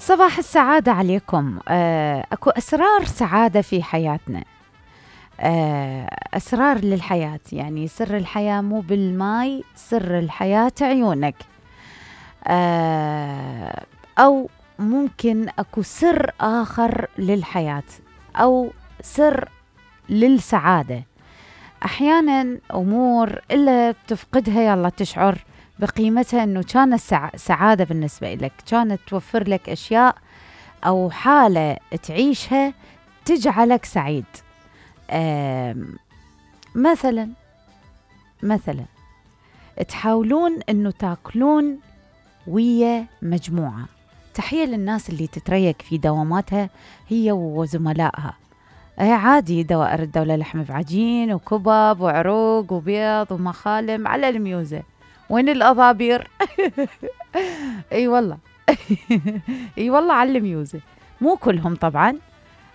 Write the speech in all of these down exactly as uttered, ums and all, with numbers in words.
صباح السعادة عليكم. آه، أكو أسرار سعادة في حياتنا. آه، أسرار للحياة، يعني سر الحياة مو بالماي، سر الحياة عيونك. آه، أو ممكن أكو سر آخر للحياة أو سر للسعادة. أحيانا أمور إلا بتفقدها يلا تشعر بقيمتها، أنه كانت سعادة بالنسبة لك، كانت توفر لك أشياء أو حالة تعيشها تجعلك سعيد. مثلا مثلا تحاولون أنه تاكلون ويا مجموعة، تحية للناس اللي تتريق في دواماتها هي وزملائها. ايه عادي، دوائر الدولة لحم بعجين وكباب وعروق وبيض ومخالم على الميوزة. وين الأضابير؟ اي والله. اي والله على الميوزة، مو كلهم طبعا.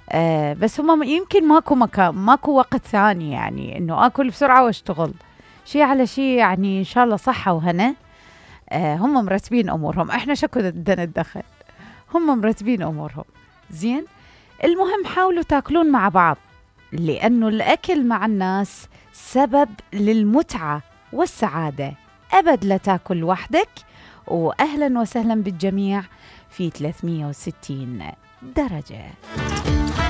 آه بس هم يمكن ماكو مكان، ماكو وقت ثاني، يعني انه اكل بسرعة واشتغل شي على شي، يعني ان شاء الله صحة وهنا. آه هم مرتبين امورهم، احنا شكو بدنا نتدخل، هم مرتبين امورهم زين. المهم حاولوا تاكلون مع بعض، لأنه الأكل مع الناس سبب للمتعة والسعادة. أبد لا تاكل وحدك. وأهلا وسهلا بالجميع في ثلاثمية وستين درجة.